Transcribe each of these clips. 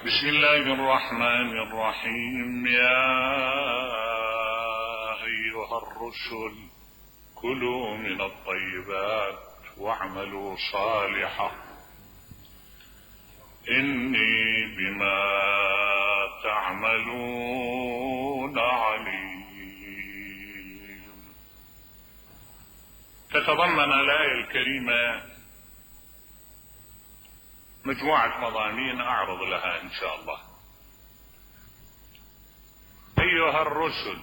بسم الله الرحمن الرحيم. يا أيها الرسل كلوا من الطيبات واعملوا صالحا إني بما تعملون عليم. تتضمن الآية الكريمة مجموعة مضامين أعرض لها إن شاء الله. أيها الرسل،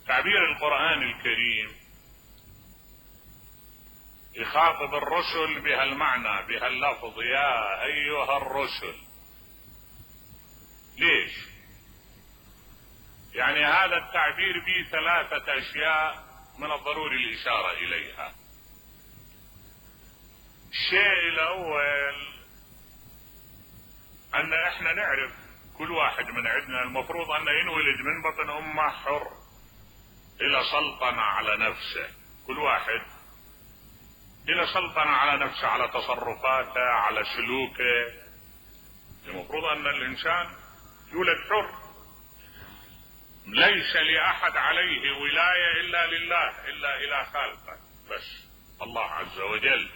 تعبير القرآن الكريم يخاطب الرسل بهالمعنى بهاللفظ، يا أيها الرسل. ليش؟ يعني هذا التعبير به ثلاثة أشياء من الضروري الإشارة إليها. الشيء الأول أن احنا نعرف كل واحد من عندنا المفروض أن ينولد من بطن أمه حر إلى سلطنة على نفسه، كل واحد إلى سلطنة على نفسه، على تصرفاته، على سلوكه. المفروض أن الإنسان يولد حر، ليس لأحد عليه ولاية إلا لله، إلا إلى خالقه بس الله عز وجل.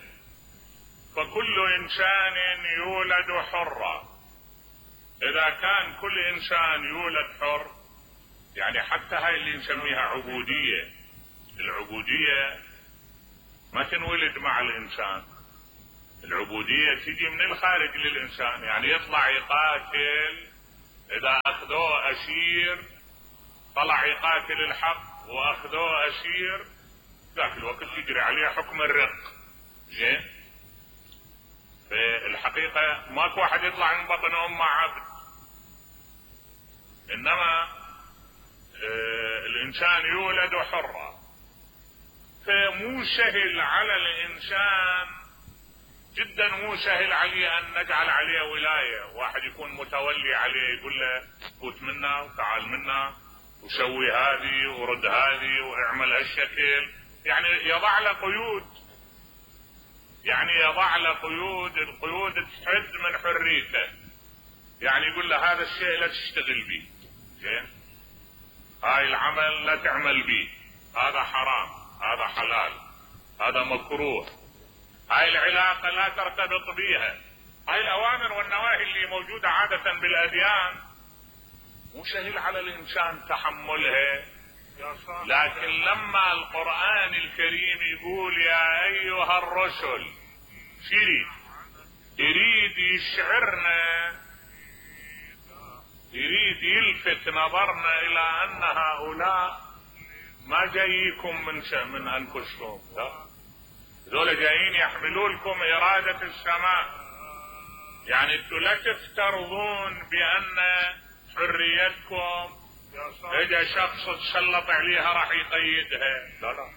فكل إنسان يولد حرا. إذا كان كل إنسان يولد حر، يعني حتى هاي اللي نسميها عبودية، العبودية ما تنولد مع الإنسان، العبودية تجي من الخارج للإنسان. يعني يطلع يقاتل، إذا أخذوه أسير طلع يقاتل الحق وأخذوه أسير، ذاك الوقت يجري عليه حكم الرق. زين؟ في الحقيقة ماكو واحد يطلع من بطن أمه عبد، إنما الإنسان يولد حرا. فمو سهل على الإنسان جدا، مو سهل عليه أن نجعل عليه ولاية، واحد يكون متولي عليه يقول له فوت منا وتعال منا وسوي هذه ورد هذه واعمل هالشكل، يعني يضع له قيود، يعني يضع له قيود، القيود تحد من حريته. يعني يقول له هذا الشيء لا تشتغل به، زين؟ هاي العمل لا تعمل به، هذا حرام، هذا حلال، هذا مكروه، هاي العلاقة لا ترتبط بها. هاي الأوامر والنواهي اللي موجودة عادة بالأديان مو سهل على الإنسان تحملها، لكن لما القرآن الكريم يقول يا أيها الرسل، يريد يشعرنا، يريد يلفت نظرنا إلى أن هؤلاء ما جاييكم من أنفسكم، لا، ذول جايين يحملوا لكم إرادة السماء. يعني انتوا لا تفترضون بأن حريتكم اذا شخص تسلط عليها راح يقيدها، لا لا،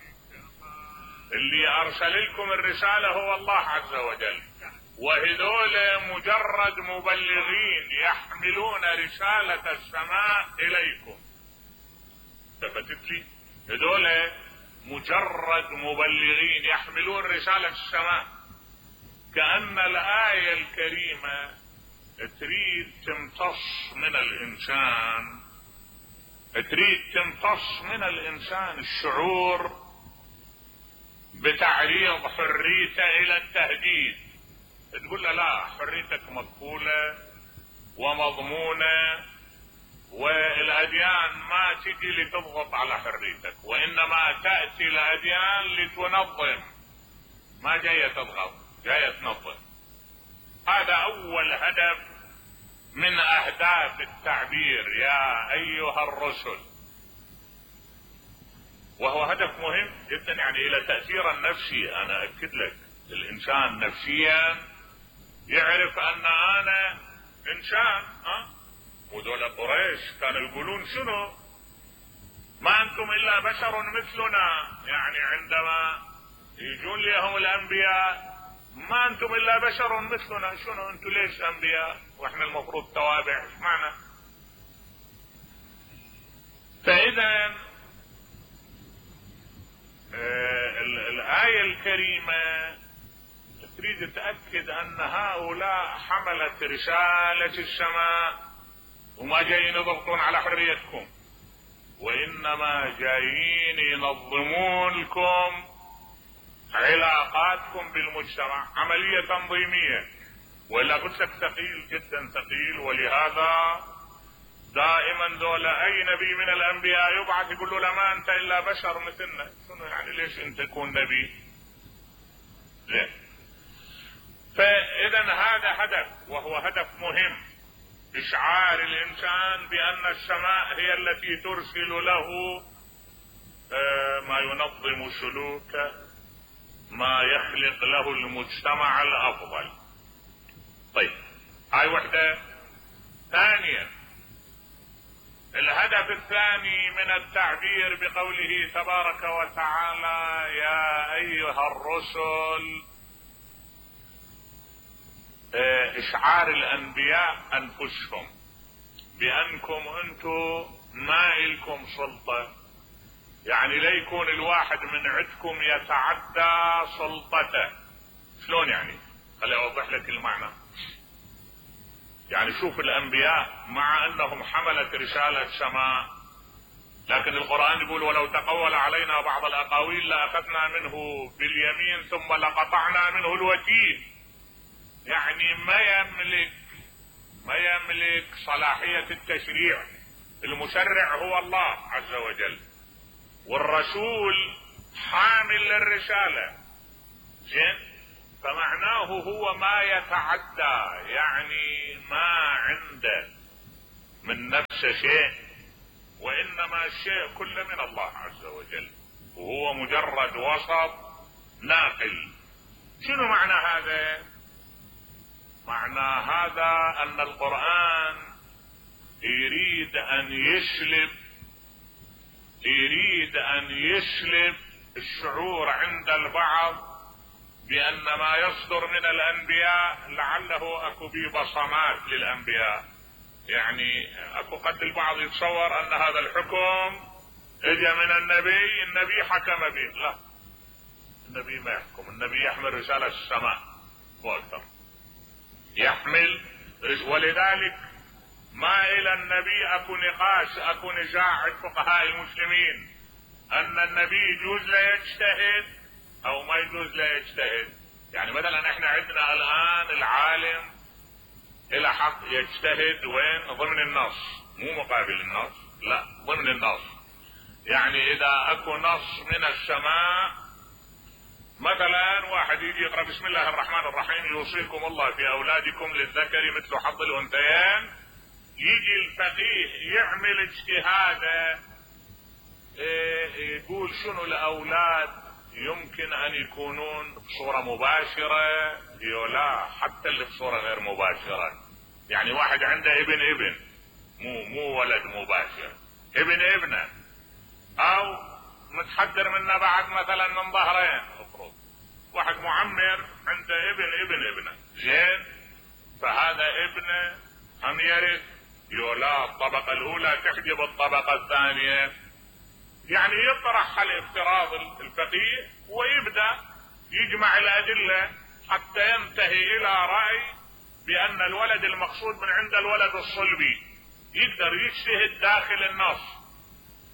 اللي ارسل لكم الرسالة هو الله عز وجل، وهذول مجرد مبلغين يحملون رسالة السماء اليكم. تفتت لي؟ هذول مجرد مبلغين يحملون رسالة السماء. كأن الآية الكريمة تريد تمتص من الإنسان، تريد تمتص من الإنسان الشعور بتعريض حريته إلى التهديد. تقول له لا، حريتك مقبولة ومضمونة، والأديان ما تجي لتضغط على حريتك، وإنما تأتي الأديان لتنظم، ما جاية تضغط، جاية تنظم. هذا أول هدف من أهداف التعبير يا أيها الرسل، وهو هدف مهم جدا، يعني إلى تأثير النفسي. أنا أكد لك الإنسان نفسيا يعرف أن أنا إنسان. وذول قريش كانوا يقولون شنو؟ ما أنتم إلا بشر مثلنا، يعني عندما يجون لهم الأنبياء ما أنتم إلا بشر مثلنا، شنو أنتم ليش أنبياء وإحنا المفروض توابع؟ إيش معنى؟ فإذا الآية الكريمة تريد تأكد ان هؤلاء حملة رسالة السماء وما جايين يضغطون على حريتكم، وانما جايين ينظمون لكم علاقاتكم بالمجتمع، عملية تنظيمية. ولا قلت لك ثقيل جدا ثقيل. ولهذا دائما دولة اي نبي من الانبياء يبعث يقول له ما انت الا بشر مثلنا. شنو يعني ليش انت تكون نبي؟ ليه؟ فاذا هذا هدف، وهو هدف مهم، اشعار الانسان بان السماء هي التي ترسل له ما ينظم سلوكه، ما يخلق له المجتمع الافضل. طيب هاي وحدة. ثانيا الهدف الثاني من التعبير بقوله تبارك وتعالى يا ايها الرسل، اشعار الانبياء انفسهم بانكم انتم ما الكم سلطة، يعني لا يكون الواحد من عندكم يتعدى سلطته. شلون يعني؟ خلي اوضح لك المعنى. يعني شوف الانبياء مع انهم حملت رسالة سماء، لكن القرآن يقول ولو تقول علينا بعض الاقاويل لاخذنا منه باليمين ثم لقطعنا منه الوتين. يعني ما يملك صلاحية التشريع. المشرع هو الله عز وجل، والرسول حامل للرسالة. زين؟ فمعناه هو ما يتعدى، يعني ما عنده من نفسه شيء، وانما الشيء كله من الله عز وجل، وهو مجرد وسط ناقل. شنو معنى هذا؟ معنى هذا ان القرآن يريد ان يسلب الشعور عند البعض بان ما يصدر من الانبياء لعله اكو بيه بصمات للانبياء. يعني اكو قد البعض يتصور ان هذا الحكم اجى من النبي حكم به. لا، النبي ما يحكم، النبي يحمل رسالة السماء واكثر يحمل. ولذلك ما الى النبي اكو نقاش، اكو نزاع عند فقهاء المسلمين ان النبي يجوز له يجتهد او ما يجوز له يجتهد. يعني مثلا احنا عندنا الان العالم الى حق يجتهد وين؟ ضمن النص، مو مقابل النص، لا ضمن النص. يعني اذا اكو نص من السماء، مثلا واحد يجي يقرأ بسم الله الرحمن الرحيم يوصيكم الله في اولادكم للذكر مثل حظ الانثيين، يجي الفقيه يعمل اجتهاده، يقول شنو الاولاد يمكن ان يكونون بصورة مباشرة لا حتى اللي بصورة غير مباشرة. يعني واحد عنده ابن مو ولد مباشر، ابنه، او متحدر منه بعد مثلا من ظهرين. افرض واحد معمر عنده ابنه، زين، فهذا ابنه هم يرث لا الطبقة الاولى تحجب الطبقة الثانية. يعني يطرح الافتراض الفقيه ويبدأ يجمع الادلة حتى ينتهي الى رأي بان الولد المقصود من عند الولد الصلبي. يقدر يجتهد داخل النص.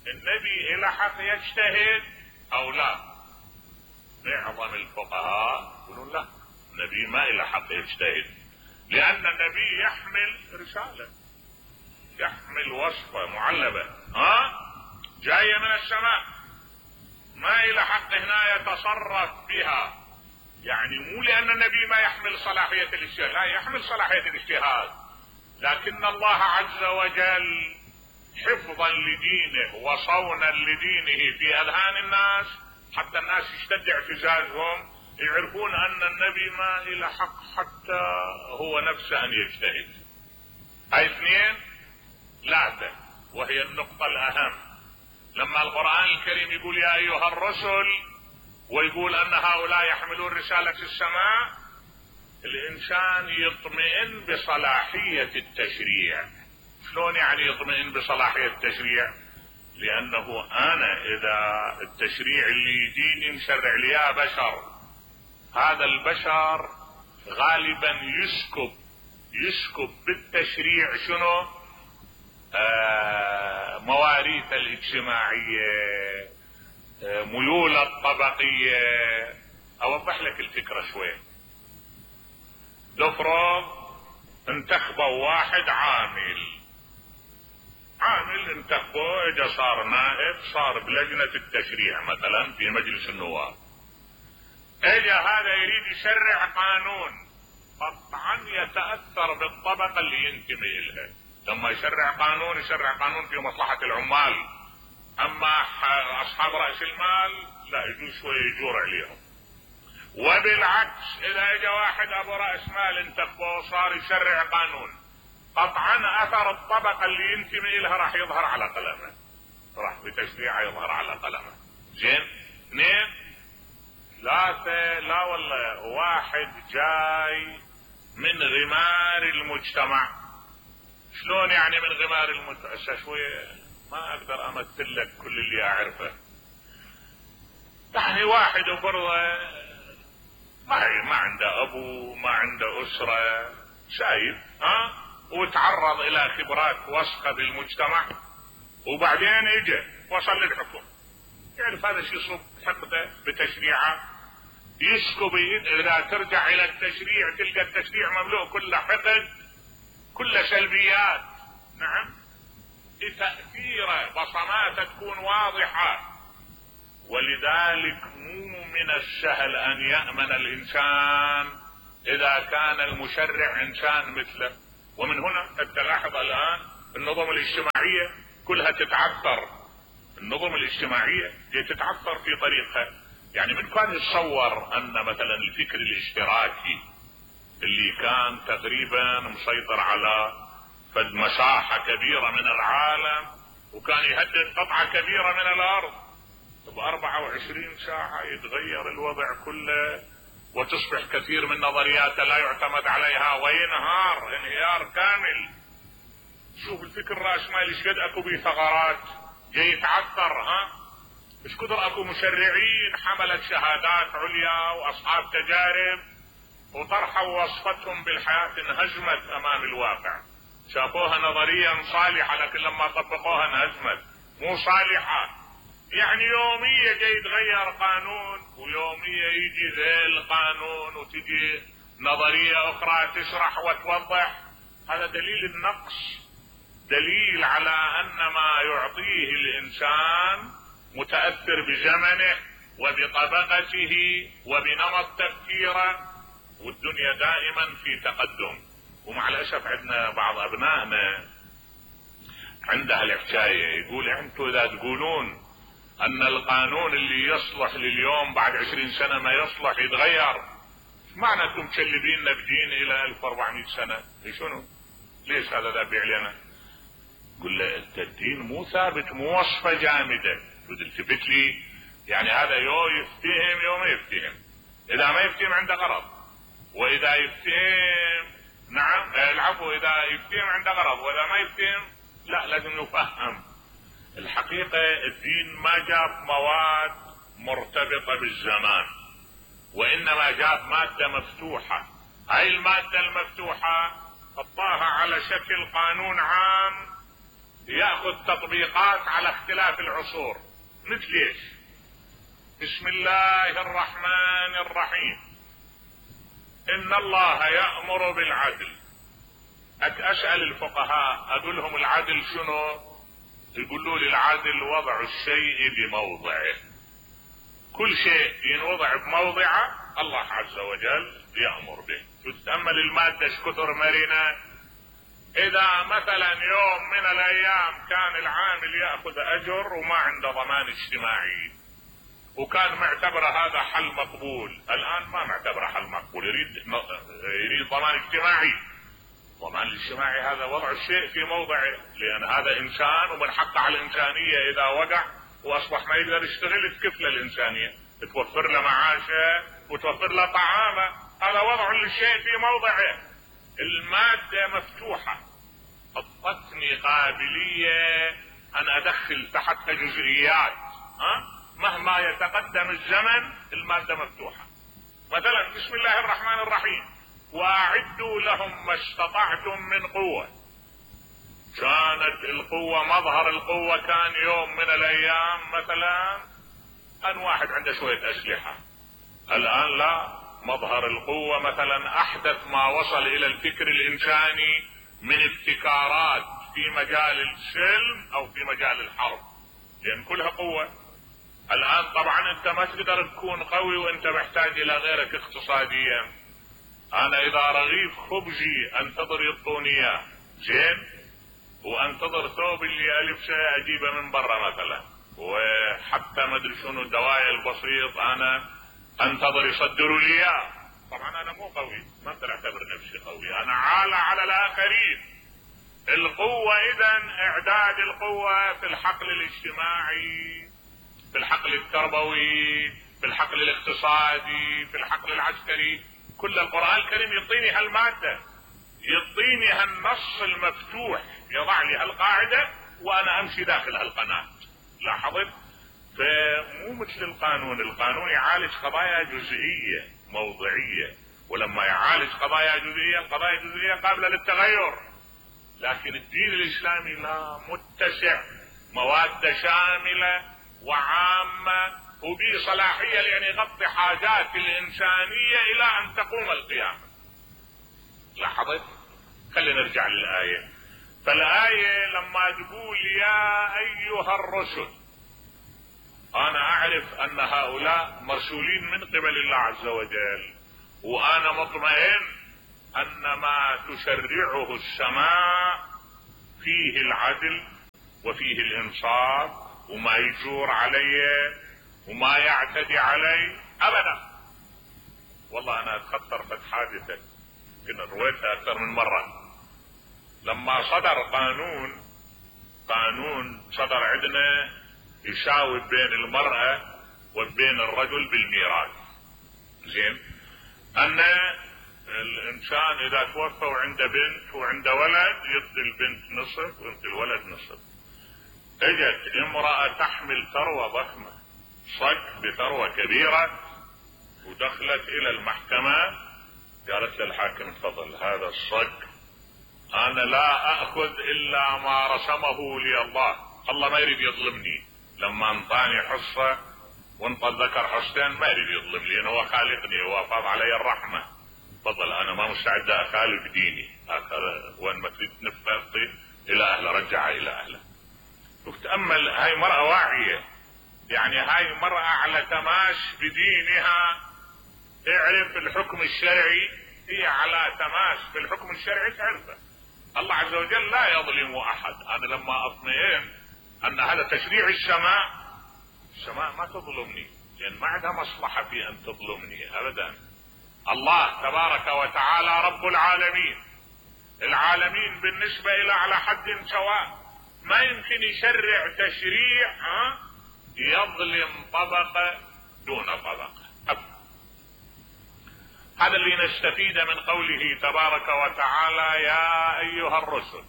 النبي الى حق يجتهد او لا؟ معظم الفقهاء يقولون لا، النبي ما الى حق يجتهد، لان النبي يحمل رسالة، يحمل وصفة معلبة جاية من السماء، ما الى حق هنا يتصرف بها. يعني مو لان النبي ما يحمل صلاحية الاجتهاد، لا، يحمل صلاحية الاجتهاد، لكن الله عز وجل حفظا لدينه وصونا لدينه في اذهان الناس، حتى الناس يشتد اعتزازهم، يعرفون ان النبي ما الى حق حتى هو نفسه ان يجتهد. هاي اثنين. ثلاثة، وهي النقطة الاهم، لما القرآن الكريم يقول يا ايها الرسل ويقول ان هؤلاء يحملون رسالة السماء، الانسان يطمئن بصلاحية التشريع. شلون يعني يطمئن بصلاحية التشريع؟ لانه انا اذا التشريع اللي يجيني مشرع لي بشر، هذا البشر غالبا يسكب بالتشريع شنو؟ مواريث الاجتماعية، ميول الطبقية. اوضح لك الفكرة شوي. لفرض انتخبوا واحد عامل انتخبوه، اجا صار نائب، صار بلجنة التشريع مثلا في مجلس النواب. اجا هذا يريد يشرع قانون، قطعا يتأثر بالطبقة اللي ينتمي الها. لما يشرع قانون في مصلحة العمال. اما اصحاب رأس المال لا، يجوز شوية يجور عليهم. وبالعكس اذا اجا واحد ابو رأس مال انتخبوه صار يشرع قانون، قطعا اثر الطبقة اللي ينتمي لها راح يظهر على قلمه، راح بتشريعه يظهر على قلمه. زين. 2 3 لا والله واحد جاي من غمار المجتمع. شلون يعني من غمار المجتمع؟ شوية ما اقدر امثل لك كل اللي اعرفه. يعني واحد برضه ما عنده ابو، ما عنده اسرة، شايف وتعرض الى خبرات وسخة بالمجتمع، وبعدين اجى وصل للحكم. يعرف هذا شيء يصب حقده بتشريعه، يسكب. اذا ترجع الى التشريع تلقى التشريع مملوء كله حقد، كله سلبيات. نعم. تأثيره بصماته تكون واضحة. ولذلك مو من السهل ان يأمن الانسان اذا كان المشرع انسان مثله. ومن هنا تلاحظ الان النظم الاجتماعية كلها تتعثر. النظم الاجتماعية تتعثر في طريقها. يعني من كان يتصور ان مثلا الفكر الاشتراكي اللي كان تقريبا مسيطر على فد مساحة كبيرة من العالم، وكان يهدد قطعة كبيرة من الارض، ب24 ساعة يتغير الوضع كله، وتصبح كثير من نظرياته لا يعتمد عليها وينهار انهيار كامل. شوف الفكر الرأسمالي ايش قد اكو بيه ثغرات، جاي يتعثر. ايش كثر اكو مشرعين حملت شهادات عليا واصحاب تجارب وطرحوا وصفتهم بالحياة انهزمت امام الواقع. شافوها نظريا صالحة لكن لما طبقوها انهزمت، مو صالحة. يعني يومية جاي يتغير قانون، ويومية يجي ذيل قانون وتجي نظرية اخرى تشرح وتوضح. هذا دليل النقص، دليل على ان ما يعطيه الانسان متأثر بزمنه وبطبقته وبنمط تفكيره، والدنيا دائما في تقدم. ومع الاسف عندنا بعض ابنائنا عندها الحكاية، يقول انتوا اذا تقولون ان القانون اللي يصلح لليوم بعد 20 سنة ما يصلح يتغير، معنى انتم مشلبيننا بدين الى 1400 سنة؟ شنو؟ ليش هذا ذابي علينا؟ قل له انت الدين مو ثابت، مو وصفة جامدة تثبت لي. يعني هذا يفتهم يوم ما يفتهم. اذا ما يفتهم عنده غرض، واذا يفتهم نعم العفو، اذا يفتهم عنده غرض، واذا ما يفتهم لا، لازم يفهم. الحقيقة الدين ما جاب مواد مرتبطة بالزمان، وانما جاب مادة مفتوحة. هاي المادة المفتوحة حطاها على شكل قانون عام يأخذ تطبيقات على اختلاف العصور. مثل ايش؟ بسم الله الرحمن الرحيم، ان الله يأمر بالعدل. اسأل الفقهاء اقول لهم العدل شنو؟ يقولوا لي العدل وضع الشيء بموضعه. كل شيء ينوضع بموضعه الله عز وجل يأمر به. تتأمل المادة كثر مرنة. اذا مثلا يوم من الايام كان العامل يأخذ اجر وما عنده ضمان اجتماعي، وكان معتبر هذا حل مقبول، الان ما معتبر حل مقبول، يريد ضمان اجتماعي. الضمان الاجتماعي هذا وضع الشيء في موضعه، لان هذا انسان ومن حقه على الانسانية اذا وقع واصبح ما يقدر يشتغل تكفله الانسانية، توفر له معاشه وتوفر له طعامه. هذا وضع للشيء في موضعه. المادة مفتوحة، اعطتني قابلية ان ادخل تحتها جزئيات. مهما يتقدم الزمن المادة مفتوحة، مثلا بسم الله الرحمن الرحيم واعدوا لهم ما استطعتم من قوة. كانت القوة، مظهر القوة كان يوم من الايام مثلا ان واحد عنده شوية اسلحة. الان لا، مظهر القوة مثلا احدث ما وصل الى الفكر الانساني من ابتكارات في مجال السلم او في مجال الحرب، لان كلها قوة. الان طبعا انت ما تقدر تكون قوي وانت محتاج الى غيرك اقتصاديا. انا اذا رغيف خبزي انتظر يعطوني اياه زين، وانتظر ثوب اللي البسه اجيبه من برا مثلا، وحتى ما ادري شنو الدوايا البسيط انا انتظر يصدروا لي اياه. طبعا انا مو قوي، ما اقدر اعتبر نفسي قوي، انا عالة على الاخرين. القوة اذا اعداد القوة في الحقل الاجتماعي، في الحقل التربوي، في الحقل الاقتصادي، في الحقل العسكري، كل القرآن الكريم يعطيني هالمادة، يعطيني هالنص المفتوح، يضع لي هالقاعدة وانا امشي داخل هالقناة. لاحظت؟ فمو مثل القانون. القانون يعالج قضايا جزئية موضعية، ولما يعالج قضايا جزئية، القضايا الجزئية قابلة للتغير. لكن الدين الاسلامي لا، متسع، مواد شاملة وعامة، وبه صلاحية لأن يغطي حاجات الإنسانية إلى أن تقوم القيامة. لاحظت؟ خلينا نرجع للآية. فالآية لما تقول يا أيها الرسل، أنا أعرف أن هؤلاء مرسولين من قبل الله عز وجل، وأنا مطمئن أن ما تشرعه السماء فيه العدل وفيه الإنصاف، وما يجور علي وما يعتدي علي أبدا. والله أنا أتخطر فت حادثة كنا رويتها أكثر من مرة. لما صدر قانون صدر عندنا يساوي بين المرأة وبين الرجل بالميراث. زين، أن الإنسان إذا توفى وعنده بنت وعنده ولد يعطي البنت نصف ويعطي الولد نصف. اجت امرأة تحمل ثروة ضخمة، صك بثروة كبيرة، ودخلت إلى المحكمة، قالت للحاكم تفضل هذا الصك أنا لا أخذ إلا ما رسمه لي الله، الله ما يريد يظلمني، لما انطاني حصة وانطى الذكر حصتين ما يريد يظلم لي، لأنه هو خالقني، هو فاض علي الرحمة. تفضل أنا ما مستعد أخالف ديني، وين ما تريد نفرطي إلى أهله رجعها إلى أهله. وتأمل، هاي مرأة واعية، يعني هاي مرأة على تماس بدينها، تعرف الحكم الشرعي، هي على تماس في الحكم الشرعي تعرفه. الله عز وجل لا يظلم أحد. أنا لما أطمئن أن هذا تشريع السماء ما تظلمني، لأن ما عندها مصلحة في أن تظلمني أبدا. الله تبارك وتعالى رب العالمين، العالمين بالنسبة إلى على حد سواء، ما يمكن يشرع تشريع يظلم طبقة دون طبقة. هذا اللي نستفيد من قوله تبارك وتعالى يا أيها الرسل.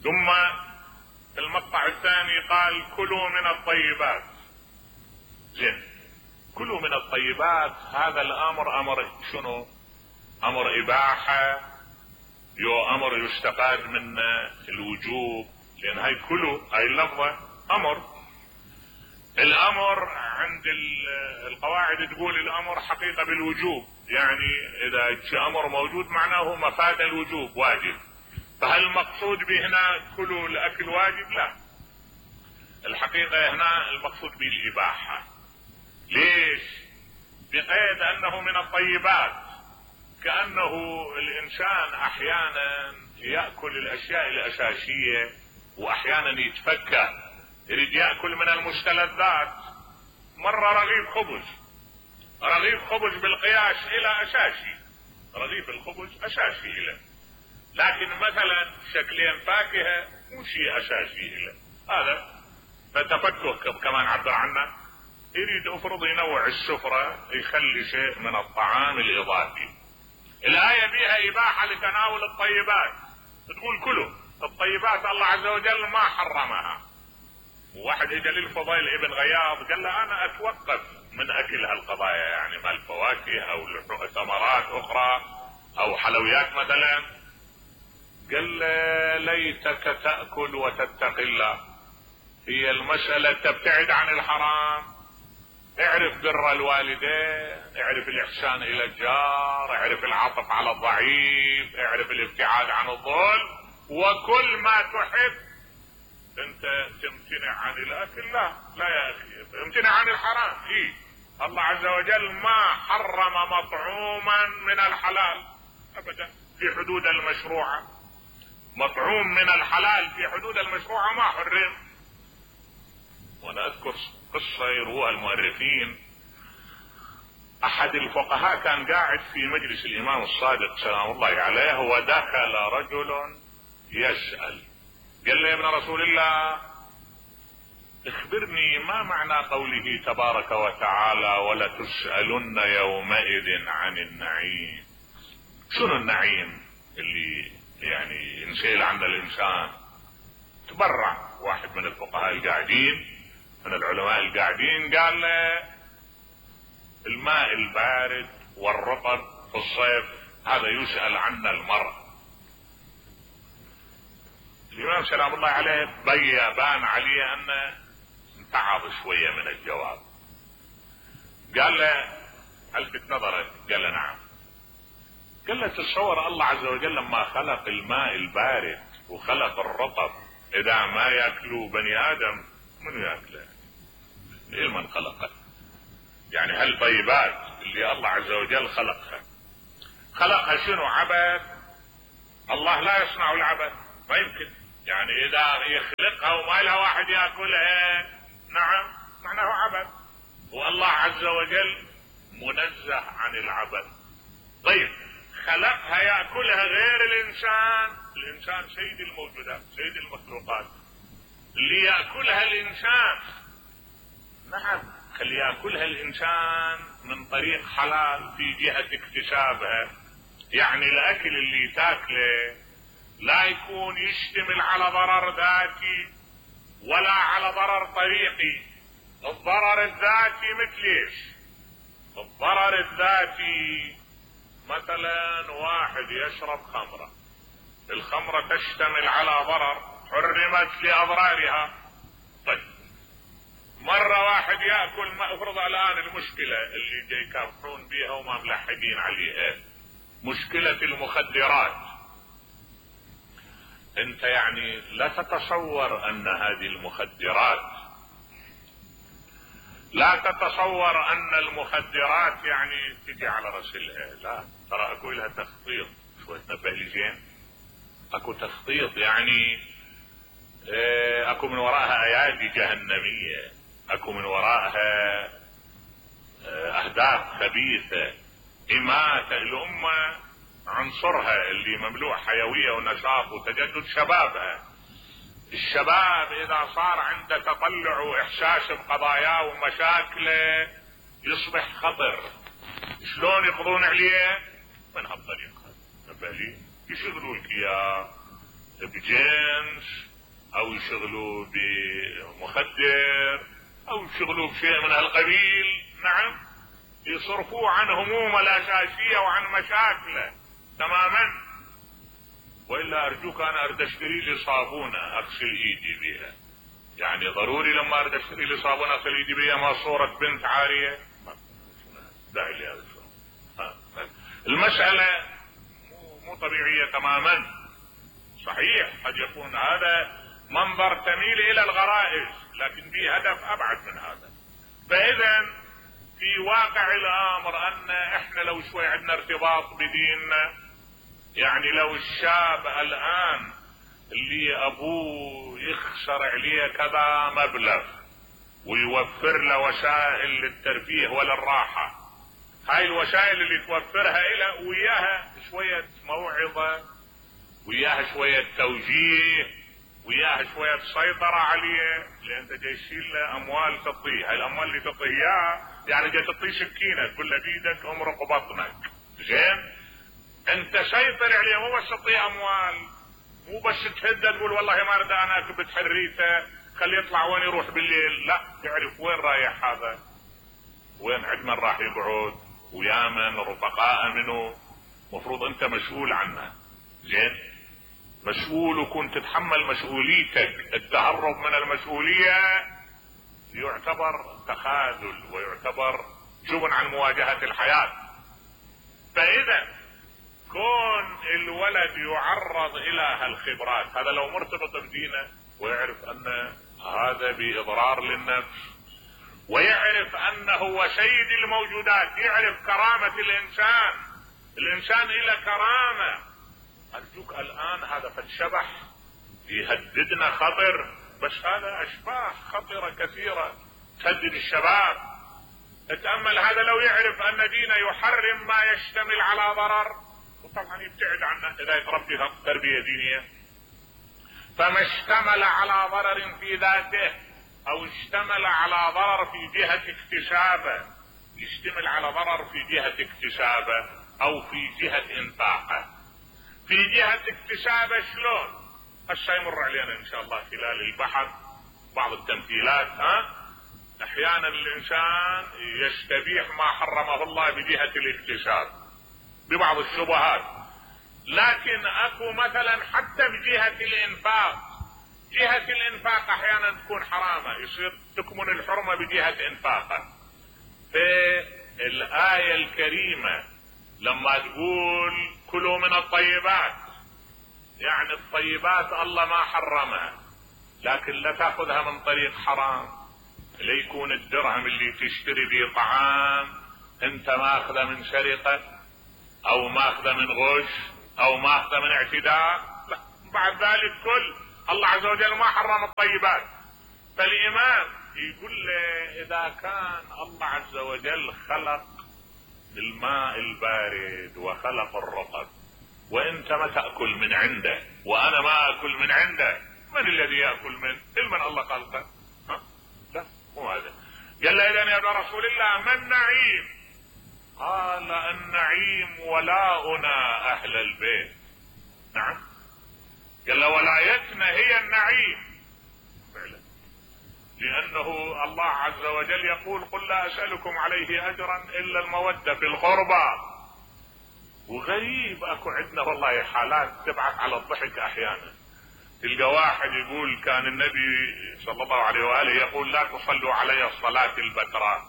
ثم في المقطع الثاني قال كلوا من الطيبات. زين، كلوا من الطيبات، هذا الأمر أمر شنو؟ أمر إباحة، أمر يستفاد من الوجوب، لأن هاي كلوا هاي اللفظة أمر. الأمر عند القواعد تقول الأمر حقيقة بالوجوب، يعني إذا أمر موجود معناه مفاد الوجوب واجب. فهل المقصود به هنا كلوا الأكل واجب؟ لا، الحقيقة هنا المقصود به الإباحة. ليش؟ بقيد أنه من الطيبات، كأنه الإنسان أحيانا يأكل الأشياء الأساسية وأحيانا يتفكر، يريد يأكل من المستلذات. مرة رغيف خبز بالقياس إلى أساسي، رغيف الخبز أساسي إلى، لكن مثلا شكلين فاكهة مو شيء أساسي إلى، هذا فتفكه كمان عبر عنه. يريد افرض ينوع السفرة، يخلي شيء من الطعام الإضافي. الآية بها إباحة لتناول الطيبات، تقول كلوا الطيبات، الله عز وجل ما حرمها. وواحد اجى للفضيل ابن غياض قال له انا اتوقف من اكل هالقضايا، يعني مال فواكه او ثمرات اخرى او حلويات مثلا. قال له ليتك تأكل وتتقي الله. هي المسألة تبتعد عن الحرام، اعرف بر الوالدين، اعرف الاحسان الى الجار، اعرف العطف على الضعيف، اعرف الابتعاد عن الظلم، وكل ما تحب. انت تمتنع عن الاكل؟ لا يا اخي، امتنع عن الحرام. ايه، الله عز وجل ما حرم مطعوما من الحلال ابدا في حدود المشروعة. مطعوم من الحلال في حدود المشروعة ما حرم. وانا اذكر قصة يروها المؤرخين. احد الفقهاء كان قاعد في مجلس الامام الصادق سلام الله عليه، ودخل رجل يسأل، قال له يا ابن رسول الله اخبرني ما معنى قوله تبارك وتعالى ولتسألن يومئذ عن النعيم. شنو النعيم اللي يعني ينسأل عنه الانسان؟ تبرع واحد من الفقهاء القاعدين من العلماء القاعدين قال له الماء البارد والرطب في الصيف هذا يسأل عنه المرء. الامام سلام الله عليه بان عليه انه انتعظ شوية من الجواب. قال له الفت نظرك؟ قال له نعم. قال له تتصور الله عز وجل لما خلق الماء البارد وخلق الرطب اذا ما ياكلوا بني ادم من ياكله؟ من خلقه؟ يعني هالطيبات اللي الله عز وجل خلقها شنو؟ عبث؟ الله لا يصنع العبث، ما يمكن. يعني اذا يخلقها وما لها واحد ياكلها، نعم معناه عبث. والله عز وجل منزه عن العبث. طيب خلقها ياكلها غير الانسان. الانسان سيد الموجودات، سيد المخلوقات، اللي ياكلها الانسان. نعم اللي ياكلها الانسان من طريق حلال في جهة اكتسابها. يعني الاكل اللي تاكله لا يكون يشتمل على ضرر ذاتي ولا على ضرر طريقي. الضرر الذاتي مثل ايش؟ الضرر الذاتي مثلا واحد يشرب خمرة، الخمرة تشتمل على ضرر حرمت لأضرارها. طيب مرة واحد يأكل، ما افرض الآن المشكلة اللي جاي يكافحون بيها وما ملحقين عليها، مشكلة المخدرات. انت يعني لا تتصور ان هذه المخدرات، لا تتصور ان المخدرات يعني تجي على رسلها. لا، ترى اكو لها تخطيط. شوية نبه لي زين، اكو تخطيط. يعني اكو من وراءها ايادي جهنمية، اكو من وراءها اهداف خبيثة. اماتة الامة عنصرها اللي مملوء حيوية ونشاط وتجدد شبابها. الشباب اذا صار عنده تطلع واحساس بقضاياه ومشاكله يصبح خطر. شلون يقضون عليه؟ من هالطريقة. نبالي يشغلوا لك اياه بجنس، او يشغلوا بمخدر، او يشغلوا بشيء من هالقبيل. نعم، يصرفوه عن همومه الاساسية وعن مشاكله تماما. والا ارجوك انا اريد اشتري لي صابونة اغسل ايدي بها. يعني ضروري لما اريد اشتري لي صابونة اغسل ايدي بها ما صورة بنت عارية؟ داعي لي هذا. المسألة مو طبيعية تماما. صحيح قد يكون هذا منظر تميل الى الغرائز، لكن به هدف ابعد من هذا. فاذا في واقع الامر ان احنا لو شوي عندنا ارتباط بديننا، يعني لو الشاب الان اللي ابوه يخسر عليه كذا مبلغ ويوفر له وسائل للترفيه وللراحة، هاي الوسائل اللي توفرها له وياها شوية موعظة، وياها شوية توجيه، وياها شوية سيطرة عليه، لان انت جاي تشيل له اموال تعطيه. هاي الاموال اللي تعطيه اياها يعني جاي تعطيه سكينة تقول له بيدك امرق بطنك. زين، انت سيطر عليه، مو بس تعطيه اموال، مو بس تهدد تقول والله ما اريد انا اكبت حريته خليه يطلع وين يروح بالليل. لا، تعرف وين رايح هذا. وين عندنا راح يقعد ويا من رفقاء منه، مفروض انت مسؤول عنه. زين، مسؤول وكنت تتحمل مسؤوليتك. التهرب من المسؤولية يعتبر تخاذل ويعتبر جبن عن مواجهة الحياة. فاذا كون الولد يعرض الى هالخبرات، هذا لو مرتبط بدينه ويعرف ان هذا باضرار للنفس، ويعرف انه هو سيد الموجودات، يعرف كرامة الانسان، الانسان الى كرامة. ارجوك الان هذا فالشبح يهددنا خطر، بس هذا اشباح خطرة كثيرة تهدد الشباب. اتأمل هذا لو يعرف ان دينه يحرم ما يشتمل على ضرر، وطبعا يبتعد عنه اذا يتربي تربية دينية. فما اشتمل على ضرر في ذاته او اشتمل على ضرر في جهة اكتسابه، يشتمل على ضرر في جهة اكتسابه او في جهة انفاقه. في جهة اكتسابه شلون؟ هسه يمر علينا ان شاء الله خلال البحث بعض التمثيلات. احيانا الانسان يستبيح ما حرمه الله بجهة الاكتساب ببعض الشبهات، لكن اكو مثلا حتى بجهة الانفاق. جهة الانفاق احيانا تكون حرامة، يصير تكمن الحرمة بجهة انفاقه. في الآية الكريمة لما تقول كلوا من الطيبات، يعني الطيبات الله ما حرمها، لكن لا تاخذها من طريق حرام. ليكون الدرهم اللي تشتري به طعام انت ماخذه من سرقة او ماخذه من غش او ماخذه من اعتداء، لا. بعد ذلك كل الله عز وجل ما حرم الطيبات. فالامام يقول له اذا كان الله عز وجل خلق الماء البارد وخلق الرطب، وانت ما تأكل من عنده وانا ما اكل من عنده، من الذي يأكل من الله خلقه؟ لا، مو هذا. قال له اذا يا ابن رسول الله ما النعيم؟ قال النعيم ولاؤنا اهل البيت. نعم، قال له ولايتنا هي النعيم فعلا، لانه الله عز وجل يقول قل لا اسألكم عليه اجرا الا المودة في القربى. وغريب اكو عندنا والله حالات تبعث على الضحك احيانا. تلقى واحد يقول كان النبي صلى الله عليه واله يقول لا تصلوا علي الصلاة البتراء.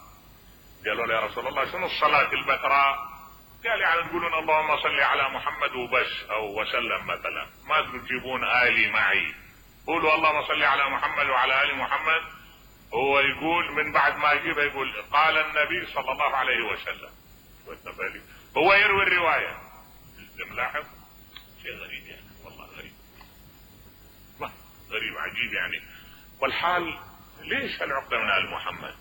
قالوا له يا رسول الله شنو الصلاة البتراء؟ قال يعني تقولون اللهم صل على محمد وبس او وسلم مثلا، ما تجيبون آلي معي، قولوا اللهم صل على محمد وعلى آل محمد. هو يقول من بعد ما يجيبها يقول قال النبي صلى الله عليه وسلم. هو يروي الرواية. ملاحظ شيء غريب يعني، والله غريب، ما غريب عجيب يعني. والحال ليش هالعقدة من آل محمد؟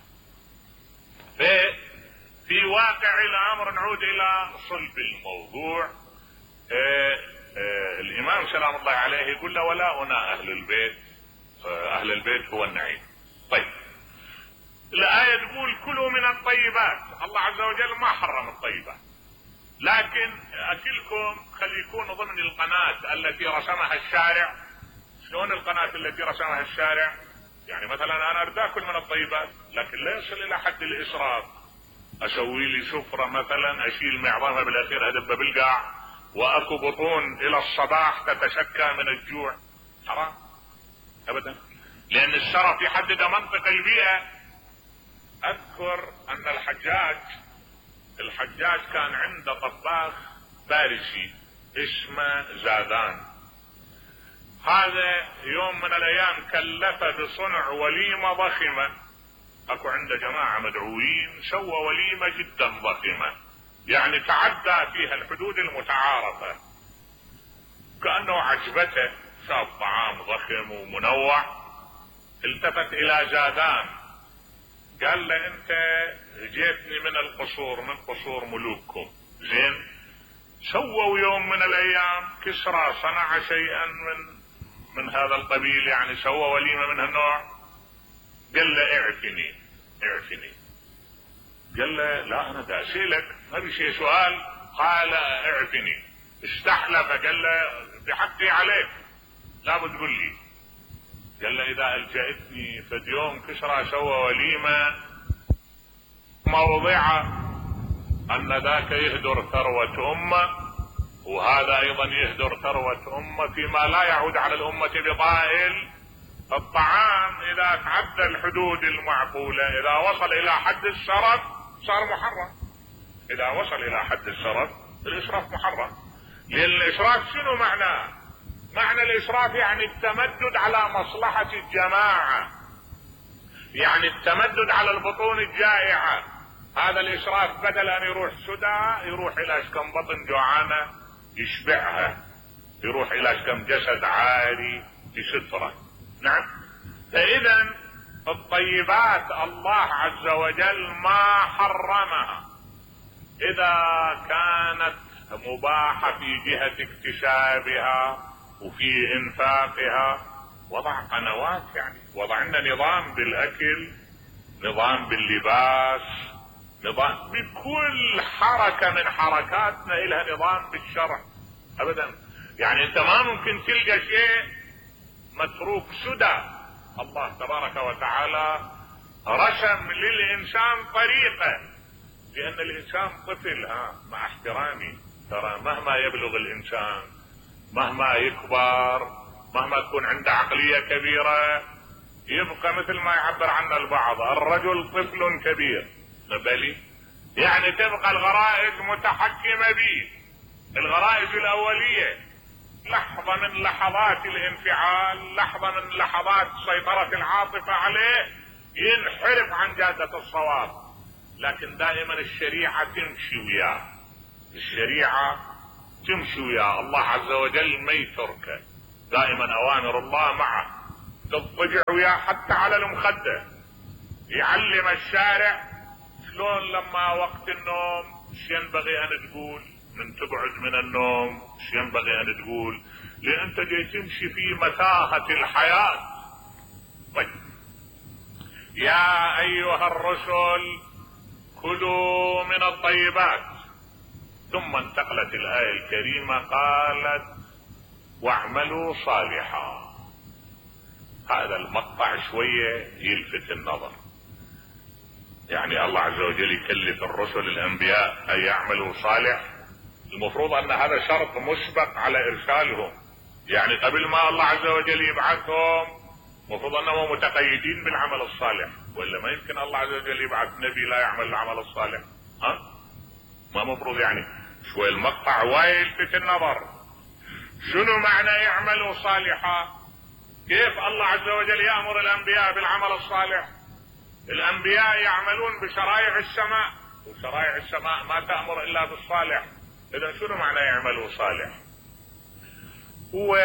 في واقع الامر نعود الى صلب الموضوع. الامام سلام الله عليه يقول له ولاؤنا اهل البيت، اهل البيت هو النعيم. طيب الآية تقول كلوا من الطيبات، الله عز وجل ما حرم الطيبات، لكن اكلكم خلي يكون ضمن القناة التي رسمها الشارع. شلون القناة التي رسمها الشارع؟ يعني مثلا انا اريد اكل من الطيبات لكن لا يصل الى حد الاسراف. اسوي لي سفرة مثلا اشيل معظمها بالاخير ادب بالقاع، واكو بطون الى الصباح تتشكى من الجوع، حرام ابدا، لان الشرف يحدد منطق البيئة. اذكر ان الحجاج كان عنده طباخ فارسي اسمه زادان. هذا يوم من الايام كلفه بصنع وليمة ضخمة. اكو عنده جماعة مدعوين سوى وليمة جدا ضخمة، يعني تعدى فيها الحدود المتعارفة. كأنه عجبته، شاف طعام ضخم ومنوع، التفت الى زادان قال له انت جيتني من القصور، من قصور ملوككم، زين؟ سووا يوم من الايام كسرى صنع شيئا من هذا القبيل، يعني سوى وليمة من هالنوع. قال له اعفني. قال له لا انا دا اسالك، ما في شيء سؤال. قال اعفني. استحلف قال له بحقي عليك لابد تقول لي. قال له اذا الجأتني فد يوم كسرى سوى وليمة موضع ان ذاك يهدر ثروة امة، وهذا ايضا يهدر ثروة امة، فيما لا يعود على الامة بطائل. الطعام اذا تعدى الحدود المعقولة، اذا وصل الى حد الشرف صار محرم. اذا وصل الى حد الشرف الاشراف محرم. لان الاشراف شنو معناه؟ معنى الاشراف يعني التمدد على مصلحة الجماعة، يعني التمدد على البطون الجائعة. هذا الاشراف بدل ان يروح سدى يروح الى اشكم بطن جوعانة يشبعها، يروح الى اشكم جسد عاري يستره. نعم. فاذا الطيبات الله عز وجل ما حرمها اذا كانت مباحة في جهة اكتسابها وفي انفاقها. وضع قنوات، يعني وضعنا نظام بالاكل، نظام باللباس، نظام بكل حركة من حركاتنا لها نظام بالشرع. ابدا يعني انت ما ممكن تلقى شيء متروك سدى. الله تبارك وتعالى رسم للانسان طريقة، لان الانسان طفل. مع احترامي، ترى مهما يبلغ الانسان، مهما يكبر، مهما تكون عنده عقلية كبيرة، يبقى مثل ما يعبر عنه البعض الرجل طفل كبير. بلي يعني تبقى الغرائز متحكمة به، الغرائز الاولية. لحظة من لحظات الانفعال، لحظة من لحظات سيطرة العاطفة عليه، ينحرف عن جادة الصواب. لكن دائما الشريعة تمشي وياه، الشريعة تمشي وياه. الله عز وجل ما يتركه، دائما اوامر الله معه، تضطجع وياه حتى على المخدة. يعلم الشارع شلون لما وقت النوم ايش ينبغي ان تقول، من تبعد من النوم ايش ينبغي ان تقول، لان انت جاي تمشي في متاهة الحياة. طيب، يا ايها الرسل كلوا من الطيبات. ثم انتقلت الآية الكريمة قالت واعملوا صالحا. هذا المقطع شوية يلفت النظر. يعني الله عز وجل يكلف الرسل الانبياء ان يعملوا صالح. المفروض ان هذا شرط مسبق على ارسالهم، يعني قبل ما الله عز وجل يبعثهم المفروض انهم متقيدين بالعمل الصالح، ولا ما يمكن الله عز وجل يبعث نبي لا يعمل العمل الصالح. ما مفروض. يعني شوي المقطع وايد يلفت النظر. شنو معنى يعملوا صالحا؟ كيف الله عز وجل يأمر الانبياء بالعمل الصالح؟ الانبياء يعملون بشرائع السماء، وشرائع السماء ما تأمر الا بالصالح. اذا شنو معنى يعملوا صالح؟ هو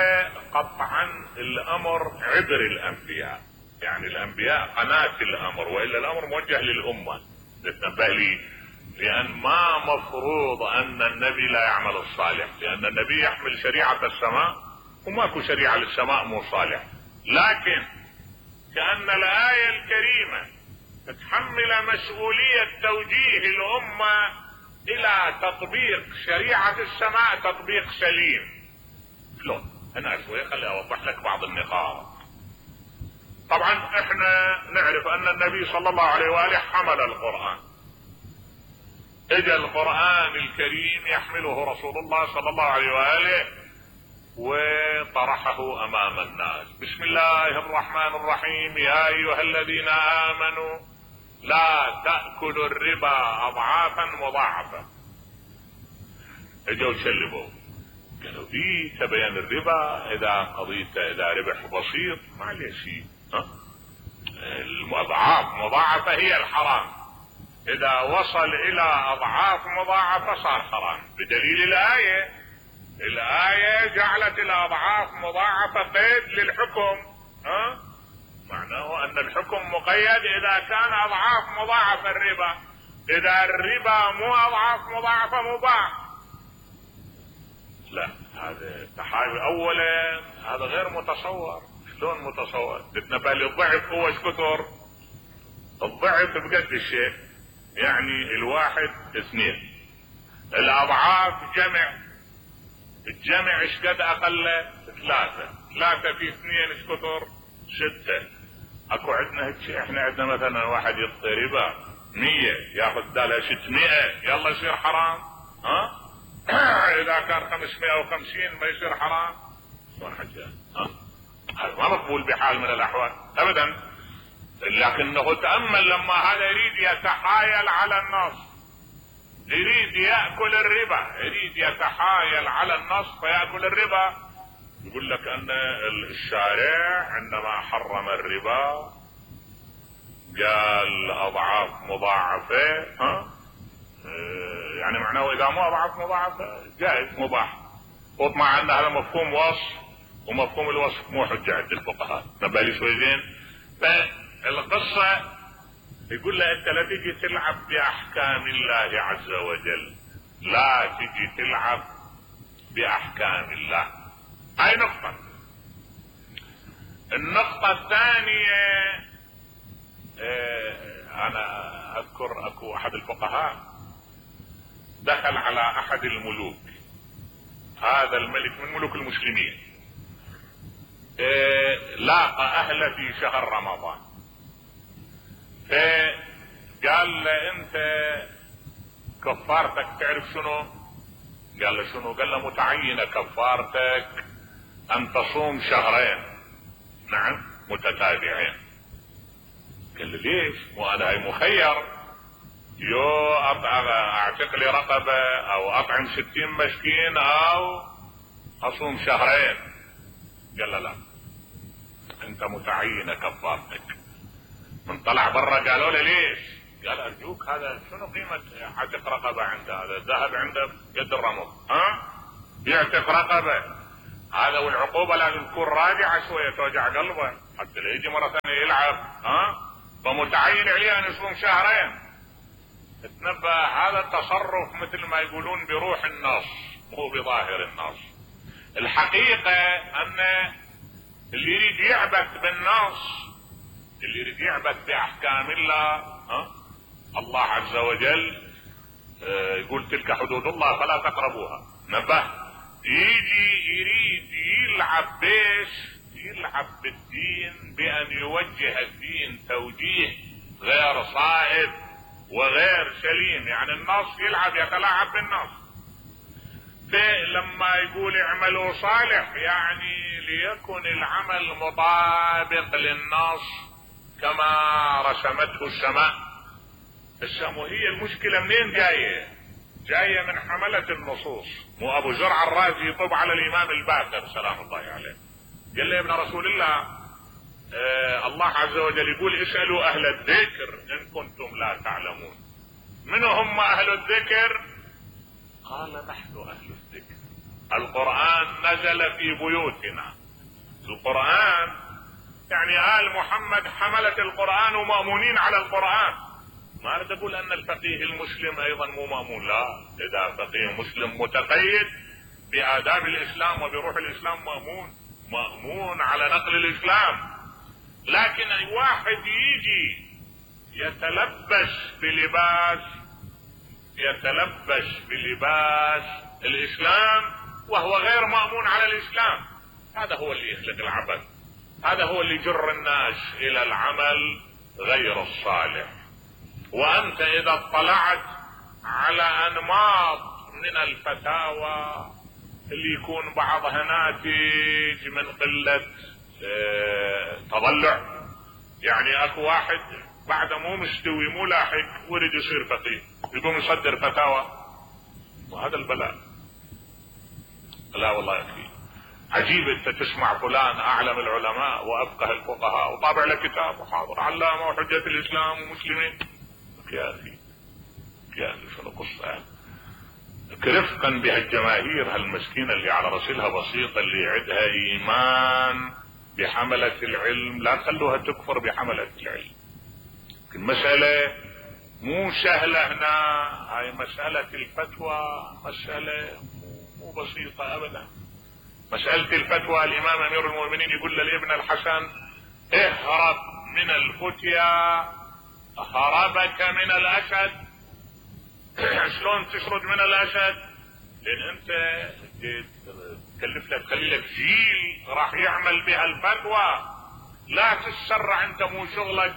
قطعا الامر عبر الانبياء، يعني الانبياء قناة الامر، والا الامر موجه للامة. تتنبه لي، لان ما مفروض ان النبي لا يعمل الصالح، لان النبي يحمل شريعة السماء وماكو شريعة للسماء مو صالح. لكن كأن الآية الكريمة تتحمل مسؤولية توجيه الأمة إلى تطبيق شريعة السماء تطبيق سليم. شلون؟ هنا شوي خلي أوضح لك بعض النقاط. طبعا احنا نعرف أن النبي صلى الله عليه وآله حمل القرآن. اجى القرآن الكريم يحمله رسول الله صلى الله عليه وآله وطرحه امام الناس. بسم الله الرحمن الرحيم. يا ايها الذين امنوا لا تأكلوا الربا اضعافا مضاعفة. اجوا شلبوا قالوا تبين الربا اذا قضيته اذا ربح بسيط ما عليه شيء. الاضعاف مضاعفة هي الحرام، اذا وصل الى اضعاف مضاعفة صار حرام، بدليل الآية جعلت الأضعاف مضاعفة قيد للحكم. معناه أن الحكم مقيد إذا كان أضعاف مضاعفة الربا. إذا الربا مو أضعاف مضاعفة مباح. لا، هذا تحايل. أولا هذا غير متصور. شلون متصور؟ تتنبه الضعف هو ايش كثر؟ الضعف بقد الشيء، يعني الواحد اثنين، الأضعاف جمع، الجمع ايش قد اقل؟ ثلاثة في اثنين ايش كثر؟ 6. اكو عندنا هيك شيء، احنا عندنا مثلا واحد يعطي ربا 100 ياخذ بدالها 600 يلا يصير حرام. ها اذا كان 550 ما يصير حرام. شلون حكي؟ هذا ما مقبول بحال من الاحوال ابدا. لكنه تأمل لما هذا يريد يتحايل على النص، يريد يأكل الربا، يريد يتحايل على النص فيأكل الربا. يقول لك ان الشارع عندما حرم الربا قال اضعاف مضاعفة. يعني معناه اذا مو اضعاف مضاعفة جائز مباح. وطمع ان هذا مفهوم وصف، ومفهوم الوصف مو حجة عند الفقهاء. نبه لي شوي زين. فالقصة يقول له انت لا تجي تلعب باحكام الله عز وجل، لا تجي تلعب باحكام الله. هاي نقطة. النقطة الثانية انا اذكر اكو احد الفقهاء دخل على احد الملوك، هذا الملك من ملوك المسلمين، لاقى اهله في شهر رمضان، فقال له انت كفارتك تعرف شنو؟ قال له شنو؟ قال له متعينة كفارتك ان تصوم شهرين، نعم متتابعين. قال له ليش؟ وانا هاي مخير، يو اعتق لي رقبة او اطعم 60 مسكين او اصوم شهرين. قال له لا، انت متعينة كفارتك. من طلع برا قالوا له ليش؟ قال ارجوك هذا شنو قيمة عتق رقبة عنده؟ هذا ذهب عنده قد الرمل، يعتق رقبة هذا، والعقوبة لازم تكون راجعة شوية توجع قلبه حتى لا يجي مرة ثانية يلعب. فمتعين عليه ان يصوم شهرين. تنبه هذا التصرف مثل ما يقولون بروح النص مو بظاهر النص. الحقيقة ان اللي يريد يعبث بالنص، اللي يريد يعبث باحكام الله، الله عز وجل يقول تلك حدود الله فلا تقربوها. نبه يجي يريد يلعب بيش، يلعب بالدين بان يوجه الدين توجيه غير صائب وغير سليم. يعني النص يلعب يتلاعب بالنص. لما يقول اعملوا صالح يعني ليكن العمل مطابق للنص كما رسمته السماء. وهي المشكلة منين جاية؟ جاية من حملة النصوص. مو ابو زرع الرازي يطب على الامام الباقر سلام الله عليه، قال له يا ابن رسول الله الله عز وجل يقول اسألوا اهل الذكر ان كنتم لا تعلمون. من هم اهل الذكر؟ قال نحن اهل الذكر. القرآن نزل في بيوتنا. القرآن يعني آل محمد حملة القرآن ومأمونين على القرآن. ما أريد أقول أن الفقيه المسلم أيضا مو مأمون، لا، إذا فقيه مسلم متقيد بآداب الإسلام وبروح الإسلام مأمون على نقل الإسلام. لكن أي واحد يجي يتلبس بلباس الإسلام وهو غير مأمون على الإسلام، هذا هو اللي يخلق العبث، هذا هو اللي يجر الناس إلى العمل غير الصالح. وأنت إذا اطلعت على أنماط من الفتاوى اللي يكون بعضها ناتج من قلة تضلع، يعني اكو واحد بعد مو مستوي مو لاحق ورد يصير فقيه يقوم يصدر فتاوى، وهذا البلاء. لا والله يكفي. عجيب انت تسمع فلان اعلم العلماء وافقه الفقهاء وطابع له كتاب وحاضر علامه وحجة الاسلام ومسلمين. يا اخي شنو قصة يعني؟ رفقا بهالجماهير هالمسكينة اللي على رسلها بسيطة اللي يعدها ايمان بحملة العلم، لا تخلوها تكفر بحملة العلم. المسألة مو سهلة هنا، هاي مسألة الفتوى مسألة مو بسيطة ابدا. مسألة الفتوى الامام امير المؤمنين يقول للابن الحسن اهرب من الفتيا هربك من الاسد. شلون تشرد من الاسد؟ لان انت تكلف لك تخلي لك جيل راح يعمل بها الفتوى، لا تتسرع انت مو شغلك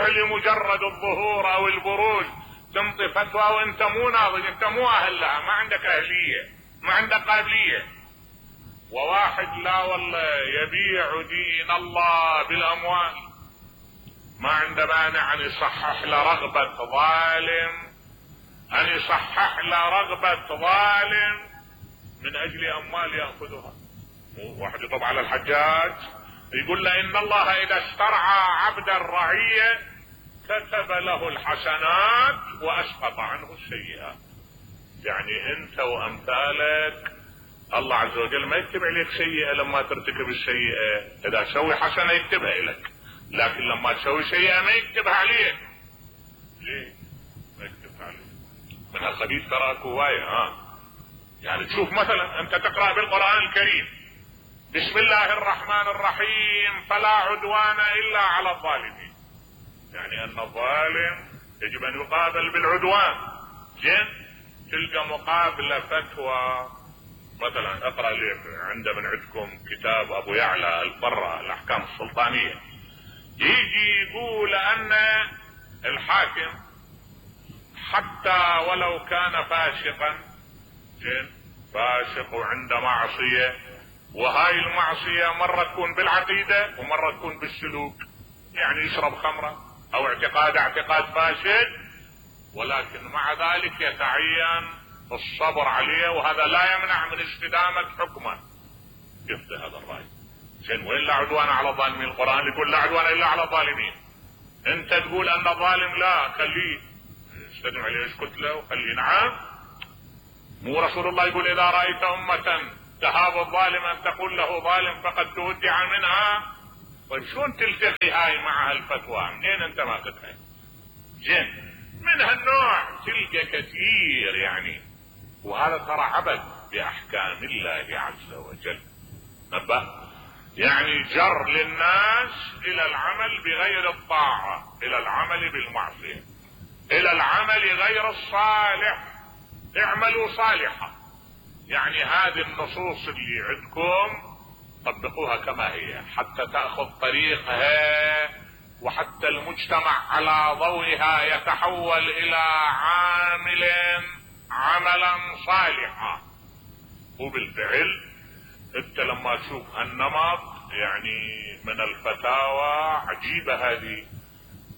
لمجرد الظهور او البروز تنطي فتوى وانت مو ناضج، انت مو اهل لها، ما عندك اهلية، ما عندك قابلية. وواحد لا والله يبيع دين الله بالاموال، ما عنده مانع ان يصحح له رغبة ظالم، ان يصحح له رغبة ظالم من اجل اموال يأخذها. واحد يطب على الحجاج يقول له ان الله اذا استرعى عبد الرعية كتب له الحسنات واسقط عنه السيئات. يعني انت وامثالك الله عز وجل ما يكتب عليك سيئة لما ترتكب السيئة، اذا تسوي حسنة يكتبها لك، لكن لما تسوي سيئة ما يكتبها عليك. ليه ما يكتبها عليك؟ من الخبيث تراك هواية. يعني تشوف مثلا انت تقرأ بالقرآن الكريم بسم الله الرحمن الرحيم فلا عدوان الا على الظالمين، يعني ان الظالم يجب ان يقابل بالعدوان. تلقى مقابلة فتوى مثلا، اقرأ لي من عندكم كتاب ابو يعلى البرة الاحكام السلطانية، يجي يقول ان الحاكم حتى ولو كان فاسقا، فاسق وعنده معصية، وهاي المعصية مرة تكون بالعقيدة ومرة تكون بالسلوك، يعني يشرب خمرة او اعتقاد فاسد، ولكن مع ذلك يتعين الصبر عليه، وهذا لا يمنع من استدامة حكمه. كيف هذا الرأي؟ وين لا عدوان على الظالمين؟ القرآن يقول لا عدوان الا على الظالمين، انت تقول ان الظالم لا خليه استدم عليه، اسكت له وخليه. نعم، مو رسول الله يقول اذا رأيت امة تهاب الظالم ان تقول له ظالم فقد تودع منها؟ طيب شلون تلتقي هاي مع هالفتوى؟ منين انت ماخذها؟ من هالنوع تلقى كثير يعني، وهذا ترى عبث باحكام الله عز وجل. يعني جر للناس الى العمل بغير الطاعة، الى العمل بالمعصية، الى العمل غير الصالح. اعملوا صالحا، يعني هذه النصوص اللي عندكم طبقوها كما هي حتى تأخذ طريقها، وحتى المجتمع على ضوئها يتحول الى عملا صالحا. وبالفعل انت لما تشوف النمط يعني من الفتاوى عجيبة هذه،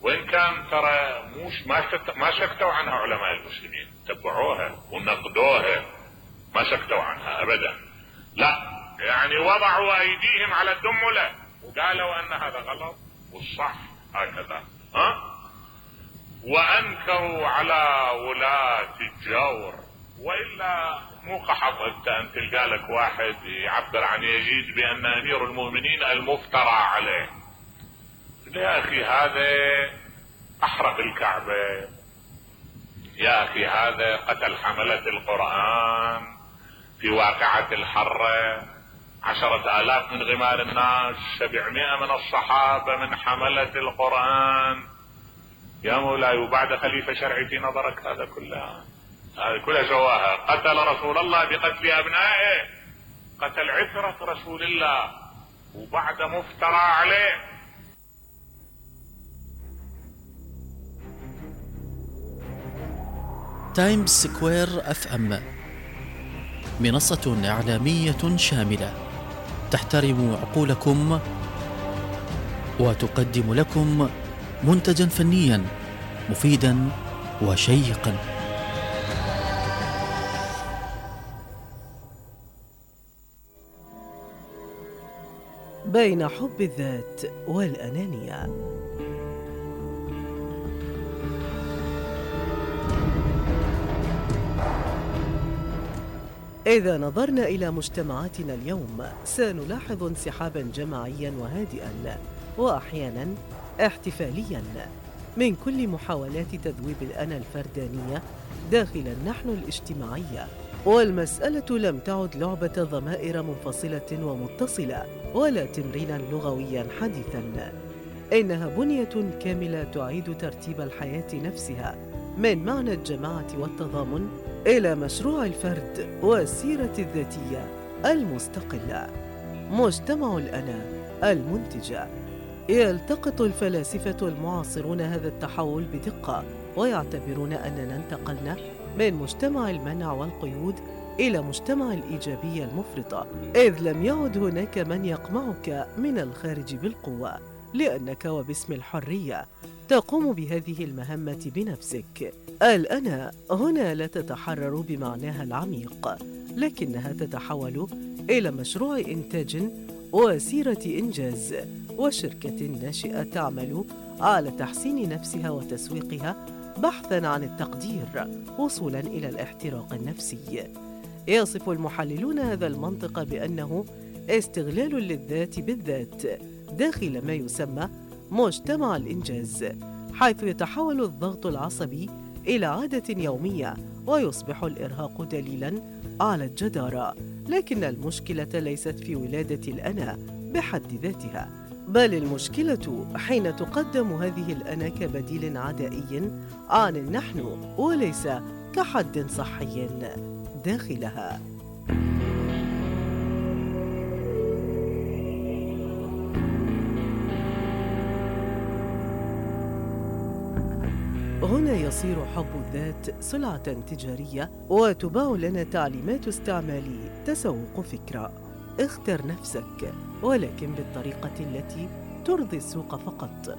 وان كان ترى ما سكتوا عنها علماء المسلمين، تبعوها ونقدوها، ما سكتوا عنها ابدا، لا يعني وضعوا ايديهم على الدملة وقالوا ان هذا غلط والصح هكذا. وانكروا على ولاة الجور، والا مو قحط انت تلقى لك واحد يعبر عن يزيد بان امير المؤمنين المفترى عليه. يا اخي هذا احرق الكعبة، يا اخي هذا قتل حملة القرآن في واقعة الحرة، 10,000 من غمار الناس، 700 من الصحابة من حملة القرآن. يا مولاي وبعد خليفة شرعي في نظرك هذا كلها سواها؟ قتل رسول الله بقتل ابنائه، قتل عترة رسول الله وبعد مفترى عليه. تايمز سكوير FM منصة إعلامية شاملة تحترم عقولكم وتقدم لكم منتجا فنيا مفيدا وشيقا. بين حب الذات والأنانية. إذا نظرنا إلى مجتمعاتنا اليوم سنلاحظ انسحابا جماعيا وهادئا وأحيانا احتفاليا من كل محاولات تذويب الأنا الفردانية داخل النحن الاجتماعية. والمسألة لم تعد لعبة ضمائر منفصلة ومتصلة ولا تمرينا لغويا حديثا، إنها بنية كاملة تعيد ترتيب الحياة نفسها من معنى الجماعة والتضامن إلى مشروع الفرد والسيرة الذاتية المستقلة. مجتمع الأنا المنتجة يلتقط الفلاسفة المعاصرون هذا التحول بدقة، ويعتبرون أننا انتقلنا من مجتمع المنع والقيود إلى مجتمع الإيجابية المفرطة، إذ لم يعد هناك من يقمعك من الخارج بالقوة، لأنك وباسم الحرية تقوم بهذه المهمة بنفسك. الأنا هنا لا تتحرر بمعناها العميق، لكنها تتحول إلى مشروع إنتاج وسيرة إنجاز، وشركة ناشئة تعمل على تحسين نفسها وتسويقها بحثاً عن التقدير وصولاً إلى الاحتراق النفسي. يصف المحللون هذا المنطق بأنه استغلال للذات بالذات داخل ما يسمى مجتمع الإنجاز، حيث يتحول الضغط العصبي إلى عادة يومية ويصبح الإرهاق دليلاً على الجدارة. لكن المشكلة ليست في ولادة الأنا بحد ذاتها، بل المشكلة حين تقدم هذه الأنا كبديل عدائي عن النحن وليس كحد صحي داخلها. هنا يصير حب الذات سلعة تجارية، وتباع لنا تعليمات استعمال تسوق فكرة. اختر نفسك، ولكن بالطريقة التي ترضي السوق فقط.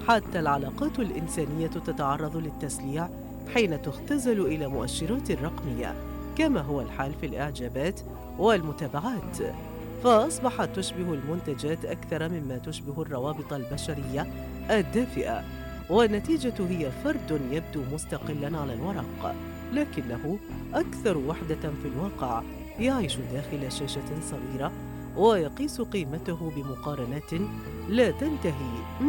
حتى العلاقات الإنسانية تتعرض للتسليع حين تختزل إلى مؤشرات رقمية، كما هو الحال في الإعجابات والمتابعات، فأصبحت تشبه المنتجات أكثر مما تشبه الروابط البشرية الدافئة، والنتيجة هي فرد يبدو مستقلاً على الورق، لكنه أكثر وحدة في الواقع، يعيش داخل شاشة صغيرة ويقيس قيمته بمقارنات لا تنتهي